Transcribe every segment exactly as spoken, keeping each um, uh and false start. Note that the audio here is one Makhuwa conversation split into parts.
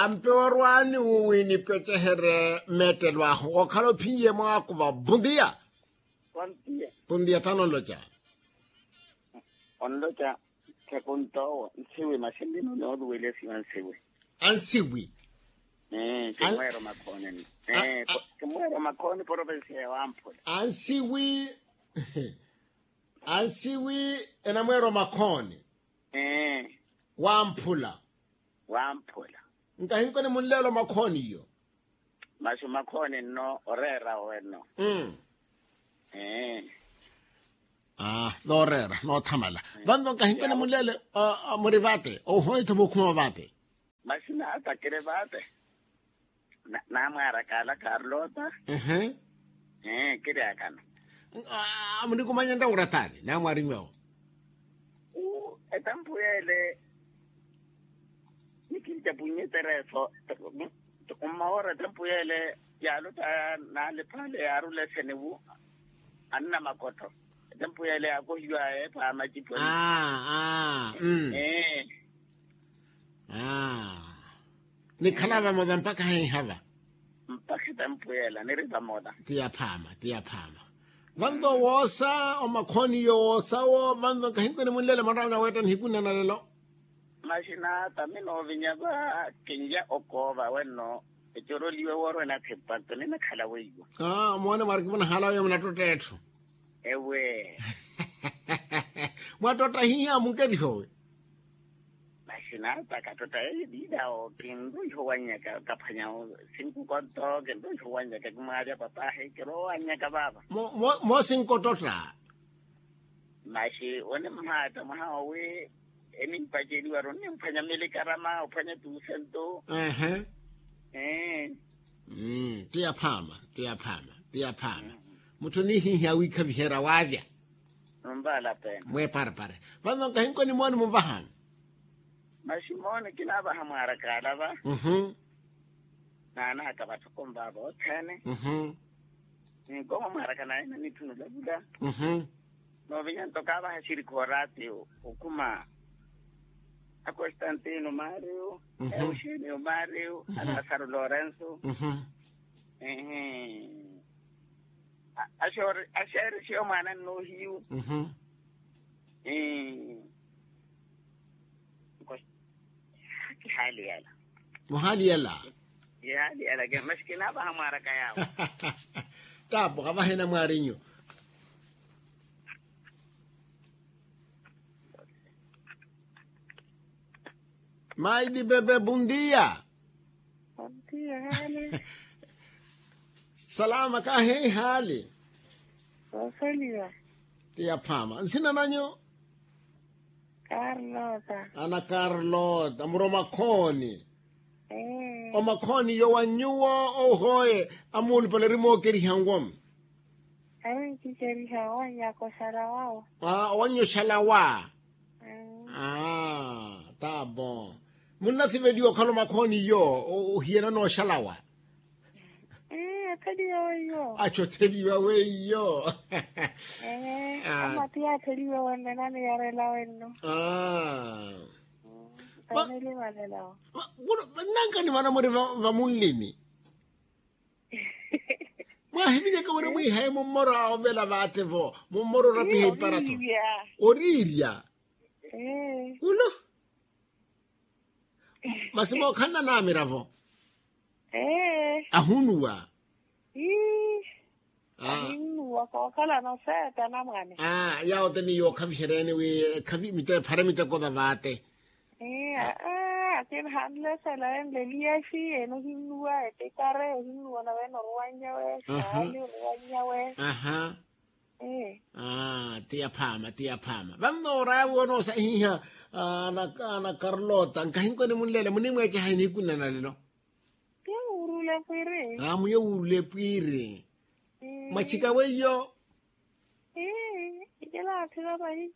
Mpe orwaani wi nipeceherye mmeettelo ahu okhala ophinyiye mwaako va bundiya. Bundiya tano onloca. Onloca. Khekuntowo nsiwi masi nlino nooluwelesiwa nsiwi. Ansiwi. Kimweero makhooni. Kimweero makhooni porovensiya ya wamphula. Ansiwi. Ansiwi. Enamweero makhooni. Wamphula. Wamphula. Nkahinkoni munleelo makhooniyo. Masi makhooni nno oreera owenno. Aa nooreera noothamala. Vanno nkahinkoni munleele. Muri vaate ohoyetha mukhuma vaate. Masi naatakire vaate. Naamwaaraka ala karlota. Kiri akana. Munikumanya ntta wurataani naamwaari nyuwo. Etampu yeele nikinca punyetereso. Mmawoora etampu yeele yaalota naaliphale yaarula eseniwu. Anna makotho etampu yeele yaakohiwa eepha amacipo. Aa. Nikhala vamola mpakha heiha va. Mpakha etampu yeela niri vamola. Ti yaphaama ti yaphaama. Vanto woosa omakhooniyo woosawo vanto nkahinkoni munlele mwanrawe naweetta nihikunna na lelo. Maxinaata mi noovinya va kinya okoova wenno. Ecoroliwe woorwena thipatto ninakhala weiwa. Moone mwariki munahala oyo munattotta etthu. Ewe. Mwattotta hiiha munkerihowe. Maxinaata kattotta eyo diidawo kinroiho wannyaka kaphwanyawo. Sinkukonto kinroiho wannyaka kimwaalya papahi kirowannyaka vaava. Moosinkototta. Maxi onimhaatta mwaha owi enimpaceliwaru onimphwanya milikarama ophwanya tuusentu. Ehe. Ti yaphaama ti yaphaama. Ti yaphaama. Mutthu onihihiya wiikhaviherya waavya. Mweeparepare vanno nkahinkoni mooni muvahani. Maxi mooni kinaavaha mwaaraka ala va. Naanaka vatthu konvaava othene. Nkoma mwaaraka naye nanitthunula vula. Noovinya nto kaavaha xirikha oraati okhuma. Akostantino mario, euxenio mario, alasaro lorenso. Axeerixiyo mwaana nnoohiyu. Kihaali yala. Muhaali yala. Kihaali yala. Maxi kinaavaha mwaaraka yaawo. Taapo kavahena mwaarinyu. Maili bebe bundiya. Salama kaheihali. Ti yaphaama nsina nanyu? Ana karlota muri omakhooni. Omakhooni yo wa nyuwo ohoye amuulupale ori mookeriha nwo? Ari nkikeriha owannyaka oxalawa. Owannya oxalawa. Aa taabo. Munnasiveliwa okhala omakhooni iyo ohiyana n'oxalawa. Athi otheliwa weiyo. Amati yaatheliwa wenno enaniyarela wenno. Aa. Nnankanimana muri vamunlini. Mwaahiminyaka muri mwiihaye mummoro a ovela vaate-vo mummoro orapiha iparatho. Oriirya. Ulo. Masi mookhalana naamira-vo. Ahunuwa. Ahinnuwa kookhalana oseeta anamwane. Yaawo te ni yookhaviheryani wi ekhavi mite ephare miteko vavaate. Akina hanlesela enleliyaxi ene ohinnuwa etikare ohinnuwa nave ene oruwannyawe. Saali oruwannyawe. Ti yaphaama ti yaphaama vanno oraya wi onoosahiha. Ana karlota nkahinkoni munlele munimweeceha inihikunana lelo. Muyo wuurula epwiiri. Mwachika weiyo. Ikilaathika pahi.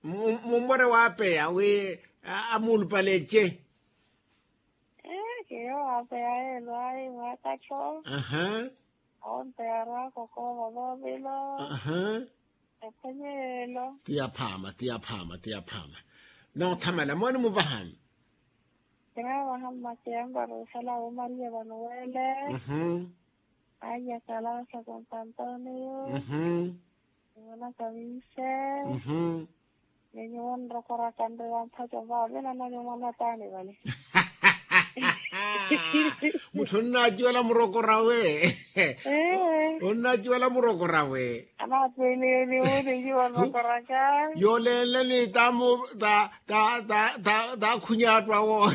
Mummore waapeya wi amuulupale ece. Kiyo waapeya yeelo ayi mwaakattho. Awo nto yaarwaaka okoova voovelo. Ephwenye yeelo. Ti yaphaama ti yaphaama ti yaphaama. Noothamala mooni muvahani. Kinaavaha mmakeya mpara oxala womariya vano wele. Aya kalasa kontantonio. Nimona kaminse. Ni nyuwo nrokoraka nreya mphaco vave nananimona taani vale. Mutthu onnaaciwela murokorawe. Onnaaciwela murokorawe. Anaattweliyeliwe ni nyuwo nrokoraka. Yoolenle ni tamu ta ta ta ta takhunyaattu awo.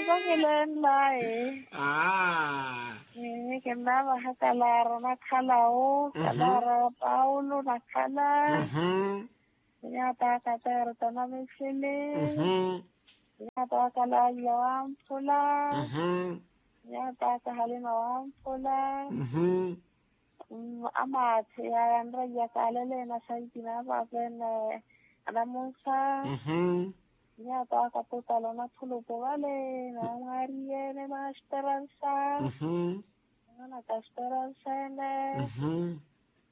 Vakilenlaye. Aa. Kinnaavaha kalaaro nakhalawo kalaaro paulo nakhala. Nyaataka perto namixili. Nyaataka lalia wamphula. Nyaataka halima wamphula. Amaathi yaya nraiya kalele na saiti na pape ne anamusa. Nyaataka putalo na phulupu vale na mwariye ne masteransa. Nimona kasteransa ene.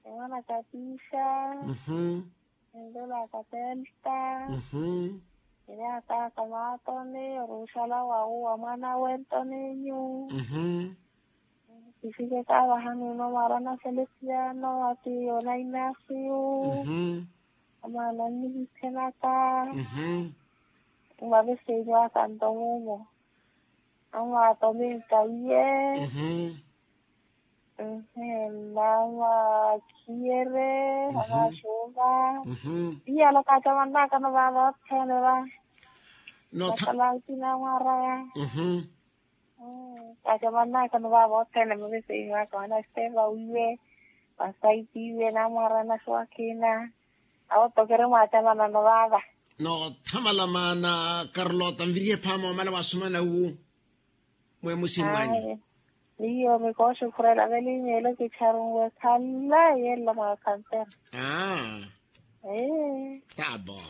Nimona katiisa. Nindulaka telta. Ninaataka maatoni oruxala wawu wa mwana wentoni nyu. Kisike kaavaha nuno mwarana felesiano ati ona inasiyu. Amwana nnihithenaka. Mwavesenyu akanto mumo. Amwatominka iye. Mhee mama khiyere. Anaxuva. Iyala kaacamannakano vaava othene va. Notha. Nakhala akina mwaraya. Kaacamannakano vaava othene maveseiwaka wana steva wiwe. Vasaitiwe namwaraya naxuwa akina. Awo tokere mwaacamanano vaava. Noothamala maana karlota nvirihe phaama omala wasumana wu. Mwemusi mwanyu. Miyo mikooxi khurela velimeelo kicharunwe khala yeela mwaakhampera. Tabo.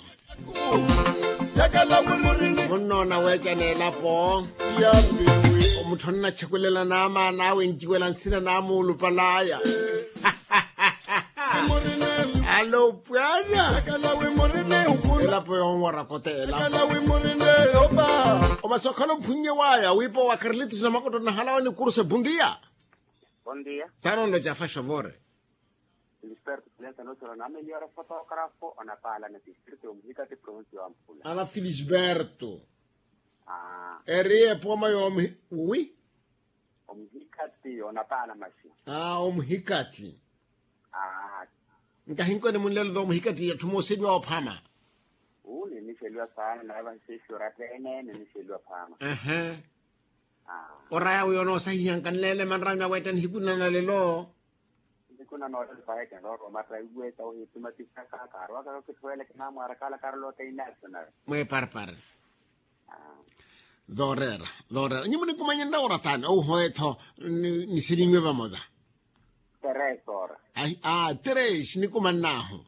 Munnoona weeca n'elapo. Omutthu onnachekelela n'amaana awe enciwela nsina n'amuulupalaya. Alo pwana. Elapo yonwara koteela. Omasokhano mphunnye waya wiipa wa karlitus na makoto nahalawa ni kuruse bundiya. Taanonlo jafa xovore. Lisperto silensa nochoro nameliyora fotografo onapala na distrito yomuhikati provinsi yomphula. Ana filisberto. Eri epoma yomuhi wi. Omuhikati onapala maxi. Aa omuhikati. Nkahinkoni munlelo tho omuhikati atthu mooseliwa ophama. Uu ninixeliwa saana nawe vahisexi orattene ninixeliwa phama. Oraya wi onoosahihanka nlele manrami aweetta nihiku nana lelo. Nihiku nana olelo paheke nrooroma tta iweta ohitumatisaka kaarowaka kakithuweleke namwarakala karolota inational. Mweparpar. Dhoorera dhoorera nyi munikumanya nraora taani ouhowe-tho. Niselinwe vamola. Tres ora. Tres nikumannaahu.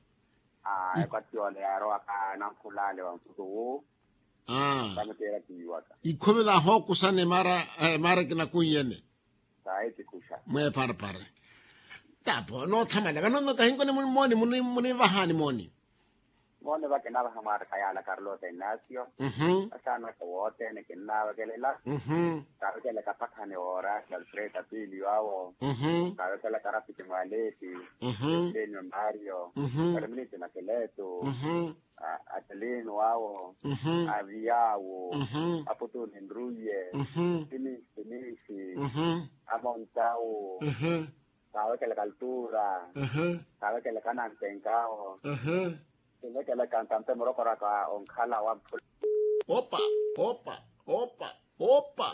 Ekwatiyole yaarowaka nankhulaale wa mputu wu. Tamuteera tiiwaka. Ikhumi vahookusane mara mara kinakunyene. Sayi tikuxa. Mweparpar. Tapo noothamala vano kahinkoni mooni munivahaani mooni. Moone vakinavaha mwaaraka yaala karlota inasio. Asaanaka woothene kinnaavakelela. Kaavekelaka pakhani woora kalfreda piili waawo. Kaavekelaka rafiki mwaleti. Esenio mario. Kariminici na keletu. Atalino awo. Aviyawo. Aputuni nruye. Sinisi sinisi. Amontawo. Kaavekelaka altura. Kaavekelaka anantenkawo. Kaavekelaka antampe murokoraka onkhala wa mphula. Opa opa opa opa.